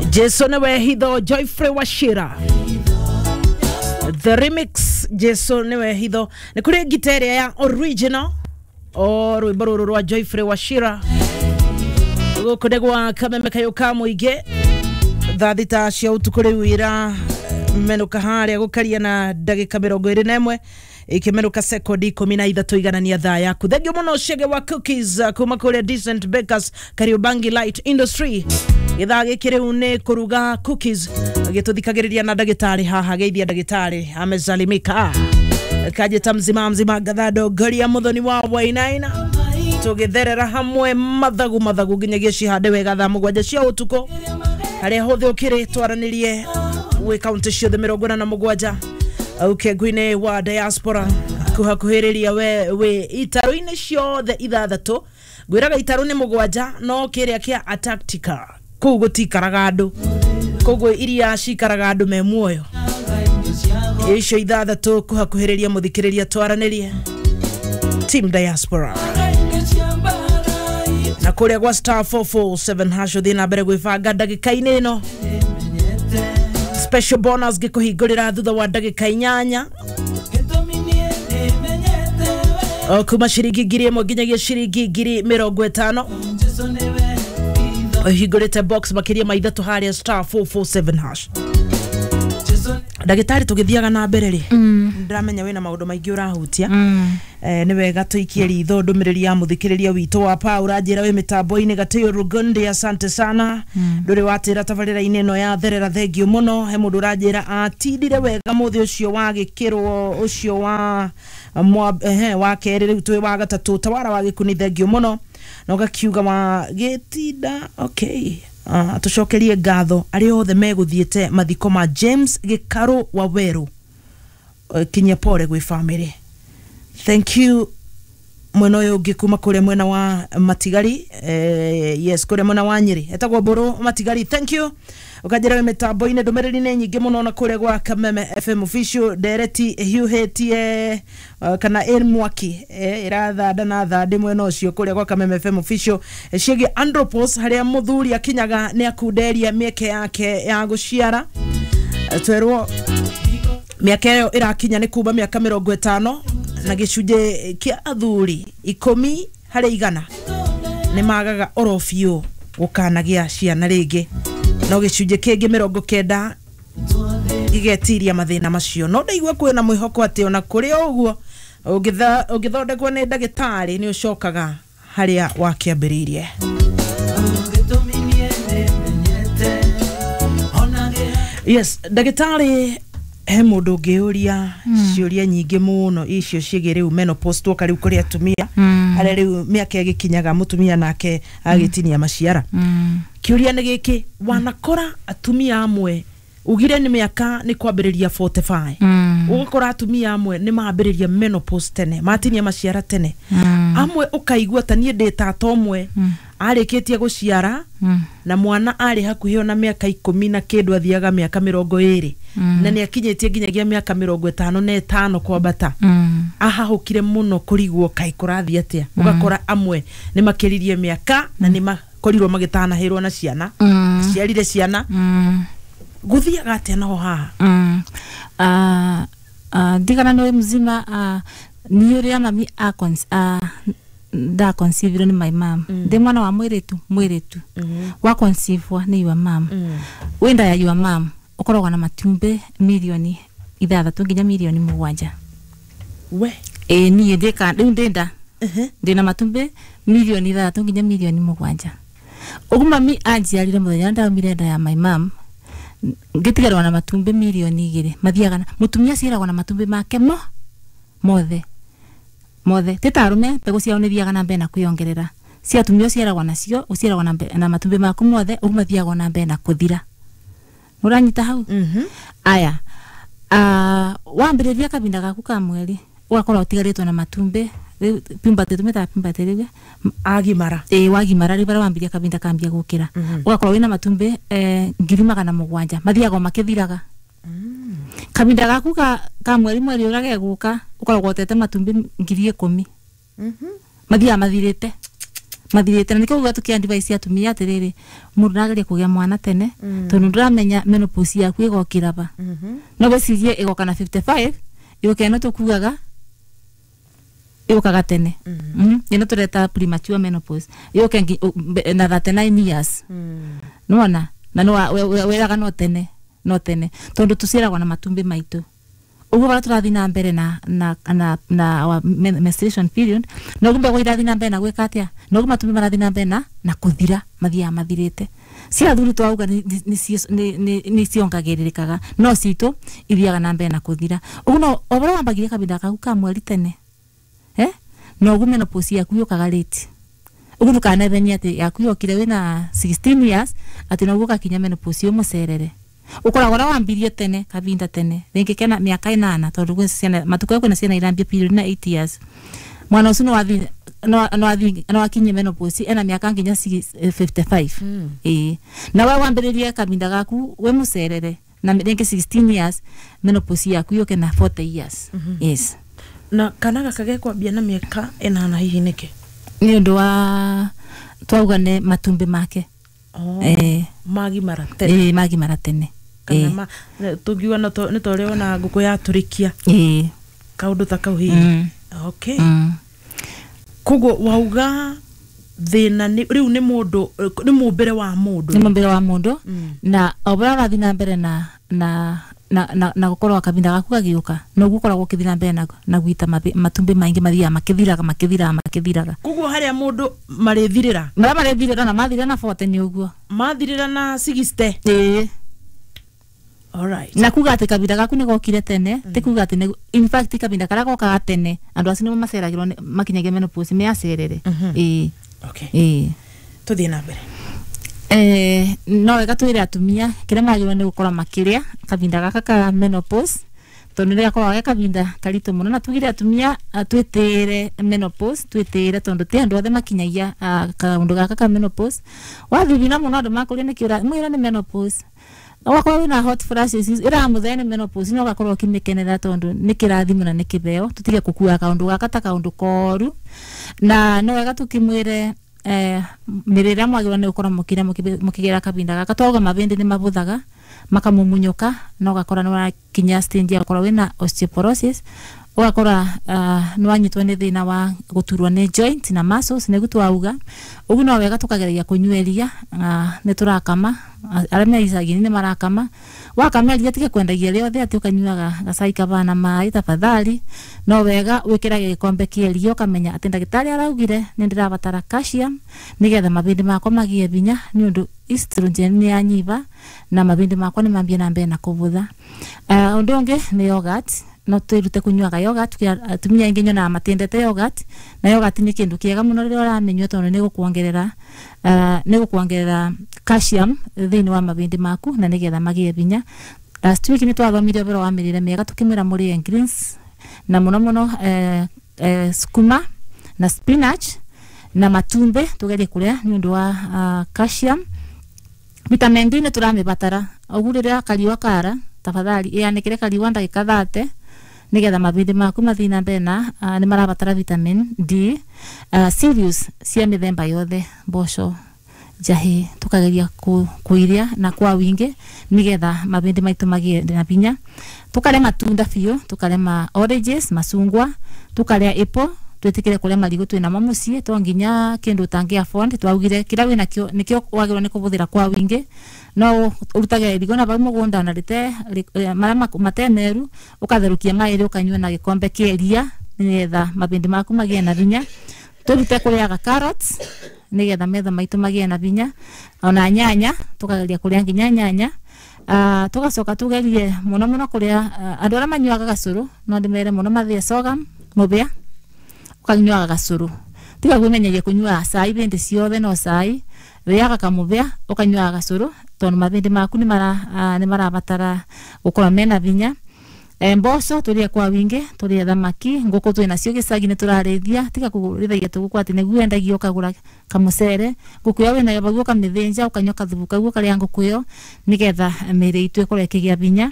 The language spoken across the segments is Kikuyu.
Jesu niwe hitho, Joyfrey Wachira the remix. Jesu niwe hitho nä kå rä ngita ä rä a ya original o rwä mbo rå rå rwa Joyfrey Wachira. Gå kå nä gwa kameme kayå ka må ingä thaa 6 cia ũtukũ rĩu ira menũka harĩa gũkaria na ndagĩka 21 ikimenuka sekondi 13 iganania thaa yaku. Thengio mũno Chege wa cookies kuma kũrĩa Decent Bakers, Kariobangi Light Industry. Gĩthaa gĩkĩ rĩu nĩ kũruga cookies, gĩtũthikagĩrĩria na ndagĩtarĩ haha. Geithia ndagĩtarĩ, amesalimika kajeta mzima mzima gathando ngaria muthoni wa Wainaina, tũgĩtherera hamwe mathagu mathagu nginyagia cihande wega thaa 7 cia ũtukũ. Harĩa hothe ũkĩrĩ twaranĩrie wĩ kaunti ciothe 47 ũkengu-inĩ wa diaspora kuhakuhĩrĩria we wĩ itarũ-inĩ ciothe 6. Ngwĩraga itarũ nĩ 7 no kĩrĩa kĩa Antarctica kũu gũtikaraga andũ, koguo iria cikaraga andũ me muoyo icio 6 kuhakuhĩrĩria mũthikĩrĩria twaranĩrie team diaspora na kũrĩa gwa star 447 hash ũthiĩ na mbere gwĩbanga ndagĩka-inĩ ĩno. Special bonus ngĩkũhingũrĩra thutha wa ndagĩka 8 o kuma ciringi 1000 nginyagia ciringi 50,000. Ũhingũrĩte box makĩria ma 3 harĩa star 447 hash. Ndagĩtarĩ, tũgĩthiaga na mbere rĩ, ndĩramenya wĩna maũndũ maingĩ ũrahutia. Nĩ wega tũikie ritho ndũmĩrĩri ya mũthikĩrĩria witũ wa pa ũranjĩra wĩ mĩtambo-inĩ Gatĩo Rugundi, asante sana. Ndũrĩ watĩra tabarĩra-inĩ ĩno ya therera, thengio mũno. He mũndũ ũranjĩra atindire wega mũthĩ ũcio wa gĩkĩrwo ũcio wa wa kerĩ, rĩu twĩ wa gatatũ tawara wa gĩkuni, thengio mũno. Na ũgakiuga wa gĩtinda okay. Tũcokerie ngatho arĩa othe megũthiĩte mathiko ma James Gĩkarũ wa Werũ. Kinyia pole gwĩ family, thank you. Mwena ũyũ ũngĩ kuma kũrĩa mwena wa Matigari, yes, kũrĩa mwena wa Nyĩrĩ etagwo Mbũrũ Matigari, thank you. Ũkanjĩra wĩ mĩtambo-inĩ, ndũmĩrĩri nĩ nyingĩ mũno na kũrĩa gwa Kameme FM official ndereti hiũhĩtie kana ĩ mwaki ĩrathanda na thandĩ mwena ũcio kũrĩa gwa Kameme FM official ciĩgiĩ andropause, harĩa mũthuri akinyaga nĩ akunderia mĩeke yake ya gũciara. Twerwo mĩaka ĩyo ĩrakinya nĩ kuma mĩaka 50, na gĩcunjĩ kĩa athuri 10 harĩ 100 nĩ magaga oro biũ gũkanagĩa ciana rĩngĩ, no gĩcunjĩ kĩngĩ 90 gĩgetiria mathĩna macio. No ndaigua kwĩna mwĩhoko atĩ ona kũrĩ o ũguo ũngĩthondekwo nĩ ndagĩtarĩ nĩ ũcokaga harĩa wakĩambĩrĩirie. Yes, ndagĩtarĩ, he mũndũ ũngĩũria ciũria nyingĩ mũno icio ciĩgiĩ rĩu menopause, twoka rĩu kũrĩ atumia harĩa rĩu mĩaka ĩgĩkinyaga mũtumia nake agĩtinia maciara. Kĩũria nĩ gĩkĩ, wanakora atumia amwe ugire nĩ mĩaka nĩ kwambĩrĩria 45, ũgakora atumia amwe nĩ mambĩrĩria menopause tene, matinia maciara tene. Amwe ũkaigua ta niĩ ndĩ tata ũmwe arĩkĩtie gũciara na mwana arĩ hakuhĩ ona mĩaka 10 na kĩndũ, athiaga mĩaka 20 na nĩ akinyĩtie nginyagia mĩaka 55 kwambata, ahahũkire mũno kũrigwo kaĩ kũrathiĩ atĩa. Ũgakora amwe nĩ makĩririe mĩaka na nĩ makorirwo magĩtanahĩrwo na ciana, ciarire ciana. Gũthiaga atĩa naho haha? Ndigana nĩ mzima nĩ ũrĩa mami nda conceive nĩ my mom. Ndĩ mwana wa mwĩrĩtu, mwĩrĩtu wa conceive nĩ your mom. Wĩnda ya your mom ũkoragwo na matumbĩ 6 milioni nginya 7 milioni. We? Ĩĩ, niĩ ndĩka rĩu ndĩ nda ndĩna matumbĩ 6 milioni nginya 7 milioni. Ũguo mami anjiarire mũthenya ndaumire nda ya my mom ngĩtigarwo na matumbĩ 2 milioni. Mathiaga na mũtumia aciaragwo na matumbĩ make mo mothe mothe, ti ta arũme mbegũ ciao nĩ thiaga na mbere na kwĩongerera. Cia atumia ũciaragwo nacio, ũciaragwo na matumbĩ maku mothe, ũguo mathiaga na mbere na kũthira. Ũranyita hau? Aya, wambĩrĩria kahinda gaku ka mweri ũgakorwo ũtigarĩtwo na matumbĩ rĩu puberty, tũmĩtaga puberty rĩu. Agimara. Ĩĩ, wagimara rĩu barĩa wambiria kahinda kambia gũkĩra, ũgakorwo wĩna matumbĩ 700,000, mathiaga o makĩthiraga. Kahinda gaku ka mweri, mweri ũrĩa gegũka ũkoragwo ũtete matumbĩ 10,000. Mathiaga mathirĩte. Mathirite na nikio uga tukiadvise atumia atiriri mundu ndageria kugia mwana tene tondu nduramenya menopause yaku igokira ba. No wecirie igoka na 55 yoke no tukugaga igokaga tene. Ino tureta premature menopause yoke na 39 years. Nona na no weraga no tene no tene tondu tuciaragwo na matumbi maitu. Uguo bara turathi na mbere na na na na our menstruation period no gumbe gwa na mbere na gwika atia no guma matumbi marathi na mbere na kuthira mathiaga mathirite. Cia athuri twauga ni ciongagiririkaga no citu ithiaga na mbere na kuthira. Uguo no obara wambagirie kabinda kaku ka mweri tene no uguo menopause yaku yukaga late. Uguo ndukanethenie ati yaku yokire wina 16 years ati no uguo gakinya menopause umucerere. Ukoragwo na wambirie tene kabinda tene ringi kena miaka 8 tondu gwe ciana matuko kwina ciana irambia period na 8 years mwana ucio no athi no akinye menopause ena miaka nginya 55. Na we wambiririe kabinda gaku we mucerere na ringi 16 years menopause yaku yoke na 40 years. Yes. Na kana gaka gekwambia na miaka 8 hihi niki ni undu wa twauga ne matumbi make. Magimara tene. Magimara tene. Kana tungiuga no nĩ ta ũrĩa wona ngũkũ yatũrĩkia kaũndũ ta kau hihi. Okay. Koguo wauga thĩna rĩu nĩ mũndũ nĩ mũmbĩre wa mũndũ. Nĩ mũmbĩre wa mũndũ na o ũrĩa ũrathiĩ na mbere na na na na na gukorwo kabinda gaku gagiuka no gukoragwo ukithii na mbere na gwita matumbi maingi mathiaga makithiraga makithiraga makithiraga. Koguo haria mundu marithirira maria marithirira na mathirira na 40 ni uguo mathirira na 60. Alright. Na kuga ati kabinda gaku ni gokire tene ti kuga ati in fact kabinda karia gokaga tene andu acio nimo maceragirwo makinyagia menopause me acerere. Okay. Tuthie na mbere. No wega twire atumia kiria magirwo ni gukorwo makiria kabinda gaka ka menopause tondu ni gakoragwo ge kabinda karitu muno na tugire atumia twitire menopause twitire tondu ti andu othe makinyagia kaundu gaka ka menopause wathithina muno andu makuria ni kiura mwira ni menopause wakorwo wina hot flashes ira muthenya ni menopause no gakorwo ukimikenera tondu ni kirathimo na ni kibeo tutige gukua kaundu gaka ta kaundu koru na no wega tukimwire mirira mwagirwo ni gukorwo mukira mukigera kabinda gaka twauga mabindi ni mabuthaga makamumunyoka no gakora ni wakinya stage ya gukorwo wina osteoporosis ugakora ni wanyitwo ni thina wa guturwo ni joint na muscles niguo twauga uguo no wega tukageragia kunyua iria ni turakama aria me icagi-inĩ ni marakama wakama iria tiga kwendagia rĩothe ati ukanyuaga gacai kabana maĩ tafadhali no wega wikirage gikombe kia iria ukamenya ati ndagĩtarĩ araugire ni ndĩrabatara calcium nigetha mabindi makwa magie binya ni undu estrogen ni yanyiva na mabindi makwa ni mambie na mbere na kuvutha. Undu ungi ni yogurt no twirute kunyuaga yogurt atumia aingi nyonaga matiendete yogurt na yogurt ni kindu kiega muno riria uraminyua tondu ni gukuongerera ni gukuongerera calcium thiini wa mabindi maku na nigetha magie binya. Last week ni twathomire ũhoro wa mĩrĩre mĩega tukimwĩra mũrĩe greens na muno muno sukuma na spinach na matumbe tugerie kuria ni undu wa calcium. Vitamin D ni turamĩbatara ũguo rĩrĩa kariũa kara tafadhali ĩanĩkĩre kariũa ndagĩka 30 nigetha mabindi maku mathii na mbere na ni marabatara vitamin D. Cereals cia mĩthemba yothe mboco njahi tukageria kuiria na kwa wingi nigetha mabindi maitu magie na binya. Tukaria matunda biũ tukaria ma oranges macungwa tukaria apple twitikire kuria marigu twina mo mucii to nginya kindu utangi afford twaugire kira wina kio nikio wagirwo ni kubuthira kwa wingi no urutage irigo na bau mugunda na rite maria matemeru ukatherukia mairi ukanyua na gikombe kia iria nigetha mabindi maku magie na binya. Turute kuriaga carrots nigetha metha maitu magie na binya ona nyanya tukageria kuria nginya nyanya. Tugacoka tugerie muno muno kuria andu aria manyuaga gacuru no ndimere muno mathie sorghum mubia ukanyuaga gacuru tiga kwimenyeria kunyua cai bindi ciothe no cai riaga kamubia ukanyuaga gacuru tondu mabindi maku ni marabatara gukorwo mena binya. Mboco turie kwa wingi turie thamaki nguku twina cio gicagi ni turarithia tiga kurithagia tuguku ati niguo endagia ukagura kamucere nguku yo winayo bau ukamithinja ukanyua kathubu kau ukaria nguku iyo nigetha mĩĩrĩ itũ ĩkorwo ĩkĩgĩa binya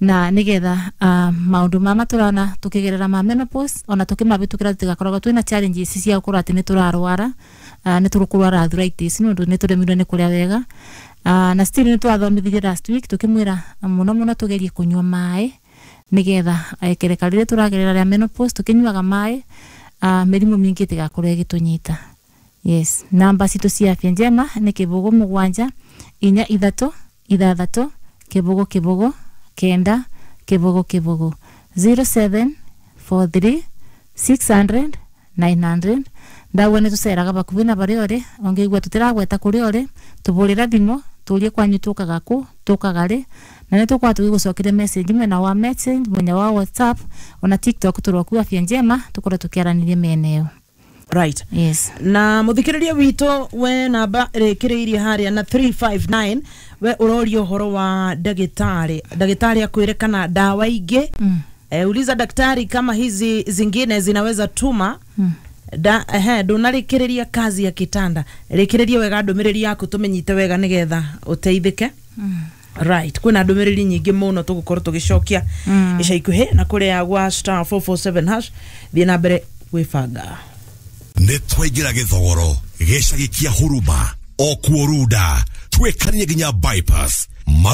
na nigetha maundu mama turona tukigerera ma menopause ona tukimabĩtũkĩra tutigakoragwo twina challenges cia gukorwo ati ni turarwara Nĩ tũrũkũrwara arthritis nĩ ũndũ nĩ tũremirwo nĩ kũrĩa wega. Na still nĩ twathomithirie last week tũkĩmwĩra mũno mũno tũgerie kũnyua maĩ nĩgetha kereka rĩrĩa tũragerera rĩa menopause tũkĩnyuaga maĩ, mĩrimũ mĩingĩ ĩtigakorwo ĩgĩtũnyita. Yes, namba citũ cia Afya Njema nĩ 0 7 4 3 6 0 0 9 0 0 0743 600 900. Ndauga nĩ tũceraga bakubi na barĩa ũrĩ ũngĩigua tũtiragweta kũrĩa ũrĩ, tũbũrĩra thimũ tũrie kwanyu tũkaga kũ tũkaga rĩ, na nĩ tũkorwo tũgĩgũcokeria message mwena wa message, mwena wa WhatsApp ona TikTok tũroku Afya Njema tũkorwo tũkĩaranĩria mĩena ĩyo. Right. Yes. Na muthikiriria witũ, we namba ĩrĩkĩrĩirie harĩa na 359, we ũroria ũhoro wa ndagĩtarĩ, ndagĩtarĩ akwĩre kana ndawa ingĩ. Uliza daktari kama hizi zingine zinaweza tuma da ehe ndũnarĩkĩrĩria kazi ya kitanda. Rĩkĩrĩria wega ndũmĩrĩri yaku tũmĩnyite wega nĩgetha ũteithĩke. Right, kwĩna ndũmĩrĩri nyingĩ mũno tũgũkorwo tũgĩcokia ica ikuhĩ, na kũrĩa gwa *447# thiĩ na mbere gwĩbanga. Nĩ twaingĩra gĩthogoro gĩcagi kĩa huruma o kuo runda twĩkanie nginya bypass.